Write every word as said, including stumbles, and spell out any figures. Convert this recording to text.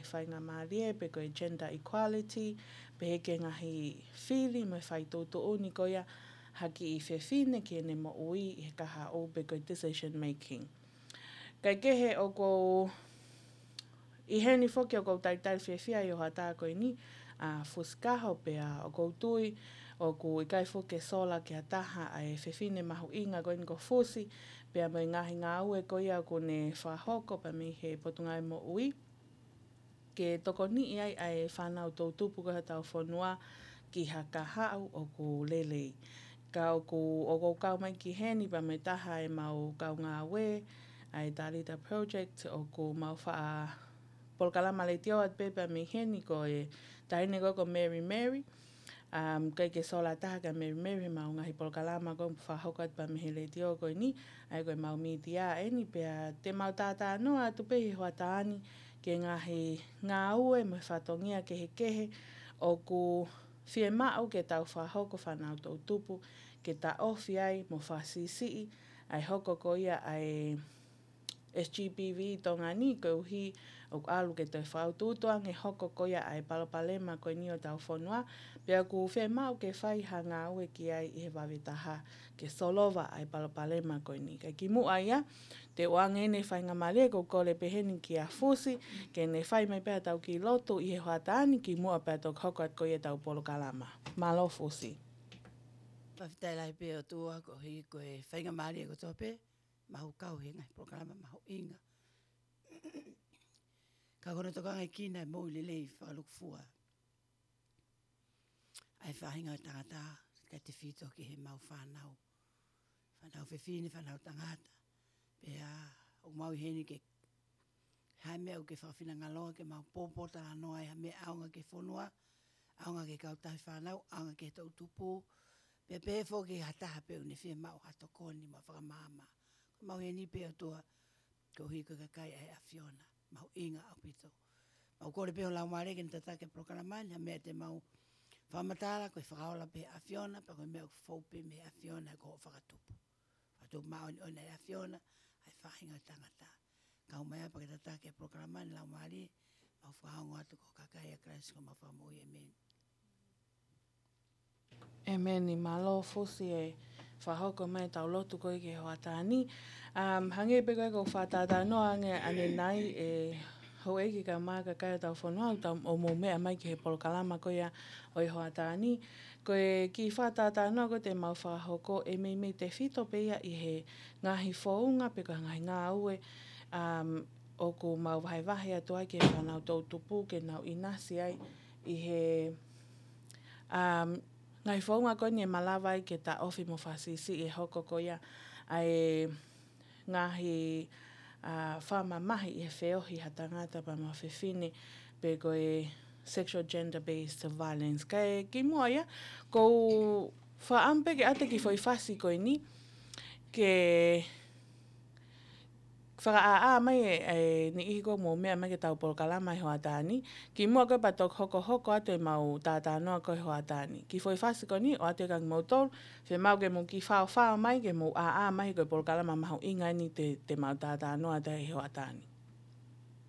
faingamālie pe ko e gender equality, pehē ki he ngaahi fili mo e faituʻutuʻuni ko ia ha kiʻi fefine ki heʻene moʻui ʻi he kahaʻu pe ko e decision making. Kae kehe ʻoku ou ʻi heni foki ʻoku ou talitali fiefia ʻi he hoʻatā ko eni, ʻa Fusi Kaho, pea ʻoku ou tui ʻoku ʻikai foki ke sola ki ha taha ʻa e fefine mahuʻinga ko eni ko Fusi, pea mo e ngaahi ngāue ko ia ʻoku ne fakahoko pea mei he Potungāue Moʻui ke tokoniʻi ai ʻa e fānau toʻutupu ko ē hotau fonua ki ha kahaʻu ʻoku lelei. Ka ʻoku, ʻoku ou kau mai ki heni pea mo e taha ʻemau kau ngāue, ʻa e Talita Project, ʻoku mau faʻa polokalama letiō atu pē pea mei heni, ko e taʻahine ko ē ko Mary Mary. Um, ʻikai ke sola taha kia Mary Mary heʻemau ngaahi polokalama ko ē ʻoku fakahoko atu pea mei he letiō ko eni, ʻa ia ko ʻemau mītia eni, pea te mau tātānoa atu pē ʻi he hoʻatā ni ki he ngaahi ngāue mo e fatongia kehekehe ʻoku fiemaʻu ke tau fakahoko fānau toʻutupu, ke taʻofi ai mo fakasiʻisiʻi ʻa e hoko ko ia ʻa e S G B V ʻi Tonga ni, koeʻuhi ʻoku ʻalu ke toe fakautuutu ange hoko ko ia ʻa e palopalema ko eni ʻo hotau fonua, pea ʻoku fiemaʻu ke fai ha ngāue ki ai ʻi he vave taha ke solova ʻa e palopalema ko eni. Kae kimuʻa ia, te u ʻoange eni e faingamālie ʻoku ou kole pē heni kia Fusi, ke ne fai mai pē haʻatau kiʻi lotu ʻi he hoʻatā ni kimuʻa pea toki hoko atu ko ia ʻetau polokalama. Mālō Fusi. Fakafetaʻi lahi pē ʻOtua koeʻuhi ko e faingamālie kotoa pē, mau kau he ngaahi polokalama mahuʻinga. Ka ko hono tokangaʻi kinaua e moʻui lelei fakalūkufua ʻa e faʻahinga ʻo e tangata, kae tefito ki heʻemau fānau, fānau fefine, fānau tangata. Pea ʻoku mau ʻi heni ke, ha meʻa ʻoku ke fakafinangaloa ke mau pōpōtalanoa ai ha meʻa ʻaonga ki he fonua, ʻaonga ki he kautaha fānau, ʻaonga ki he toʻutupu, pea pehē foki ha taha pē ʻoku ne fiemaʻu ha tokoni mo e fakamaama. Ko ʻemau ʻi heni pē ʻOtua, koeʻuhi ko e kakai ʻa e ʻAfiona, mahuʻinga ʻaupito. Mau kole pē ho Laumālie ke ne tataki e polokalama ni, ha meʻa te mau fakamatala, ko e fakaola pē ʻa e ʻAfiona, pea ko e meʻa ʻoku fou pē mei he ʻAfiona, ko hoʻo fakatupu. Fakatupu māʻoniʻoni ʻa e ʻAfiona ʻa e faʻahinga ʻo e tangata. Kau mai ā pea ke tataki e polokalama ni Laumālie, mau fakaongo atu ko e kakai ʻa Kalaisi ko homau Fakamoʻui, ʻēmeni. ʻĒmeni. Mālō Fusi e fakahoko mai ʻetau lotu ko ē ki he hoʻatā ni. Um, hangē pē ko ē ʻoku ou fakatātānoa ange ʻanenai ʻe houʻeiki kae ʻumaʻā kakai ʻo hotau fonua ʻoku mou meʻa mai ki he polokalama ko ia ʻo e hoʻatā ni. Ko e kiʻi fakatātānoa ko ē te mau fakahoko ʻe meimei tefito pē ia ʻi he ngaahi founga pe ko e ngaahi ngāue, um, ʻoku mau vahevahe atu ai ki he fānau toʻutupu ke nau ʻinasi ai ʻi he, um, ngaahi founga ko eni ʻe malava ai ke taʻofi mo fakasiʻisiʻi e hoko ko ia ʻa e ngaahi, uh, fakamamahi ʻi he feohi ha tangata pea mo ha fefine pe ko e sexual gender-based violence. Kae kimuʻa ia, ʻoku ou fakaʻamu pē ke ʻoatu e kiʻi foʻi fasi ko eni ke fakaʻāʻā mai e, e niʻihi ʻoku mou meʻa mai ki heʻetau polokalama he hoʻatā ni. Kimuʻa ko ē pea toki hokohoko atu ʻemau tātānoa ko ē he hoʻatā ni. Kiʻi foʻi fasi ko eni ʻoatu kia kimoutolu, fiemaʻu ke mou kiʻi faofao mai ke mou ʻāʻā mai he ko e polokalama mahuʻinga eni te, te mau tātānoa atu he hoʻatā ni.